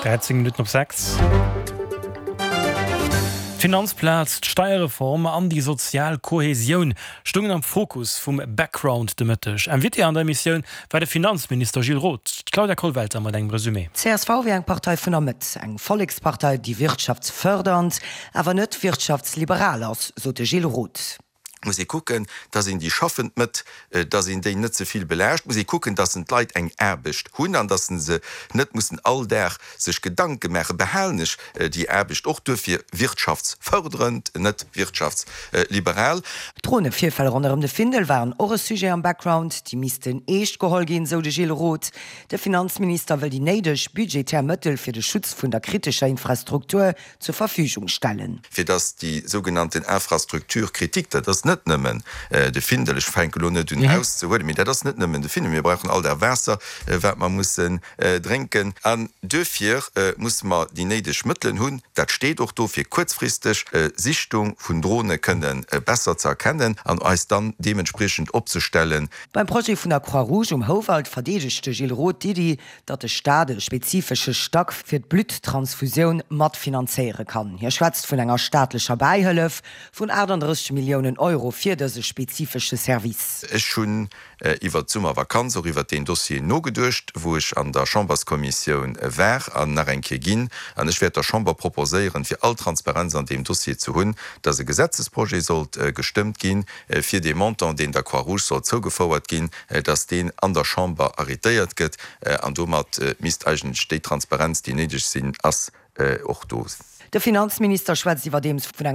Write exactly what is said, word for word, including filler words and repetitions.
Dräizéng Minutten op sechs. D'Finanzplaz, d'Steierreform an déi sozial Kohesioun stoungen am Fokus vum Background de Mëtteg. Invité an der Emissioun war de Finanzminister Gilles Roth. D'Claudia Kollwelter mat engem Resumé. Csv wier eng Partei vun der Mëtt, eng Vollekspartei, déi wirtschaftsfërdernd, awer net wirtschaftsliberal ass, sot de Gilles Roth. Muss ee kucken, dass een déi schaffend Mëtt, dass een déi net ze vill belaascht, muss ee kucken, dass en d'Leit eng Aarbecht hunn an dass se net mussen all Dag sech Gedanke maachen, behalen ech déi Aarbecht. Och duerfir wirtschaftsförderend, net wirtschaftsliberal. D'Dronevirfäll ronderëm de Findel waren och e Sujet am Background. Déi missten eescht geholl ginn, sou de Gilles Roth. De Finanzminister wëll déi néideg budgetär Mëttel fir de Schutz vun der kritescher Infrastruktur zur Verfügung stellen. Fir dass déi sougenannten Infrastructure critique, dat ass net nëmmen de Findel, ech fänke lo net un auszehuelen, mee dat ass net nëmmen de Findel, mir brauchen all Dag Waasser, wat mer mussen drénken. An duerfir musse mer déi néideg Mëttelen hunn, dat steet och do, fir kuerzfristeg Sichtung vun Drone kënne besser ze erkennen an eis dann deementspriechend opzestellen. Beim Projet vun der Croix-Rouge um Houwald verdeedegt de Gilles Roth d'Iddi, datt de Staat e spezifesche Stack fir d'Blutttransfusioun matfinanzéiere kann. Hie schwätzt vun enger staatlecher Bäihëllef vun aachtanddrësseg Milliounen Euro fir dëse spezifesche Service. Ech hunn iwwert d'Summervakanz och iwwert deen Dossier nogeduecht, wou ech an der Chamberskommissioun war an nach eng Kéier ginn. An ech wäert der Chamber proposéieren, fir all Transparenz an deem Dossier ze hunn, dass e Gesetzesprojet sollt gestëmmt ginn, fir dee Montant, deen der Croix-Rouge soll zougefouert ginn, dass deen an der Chamber arrétéiert gëtt. An domat misst eigentlech déi Transparenz, déi néideg sinn ass, och do sinn. De Finanzminister schwätzt iwwerdeems vun enger.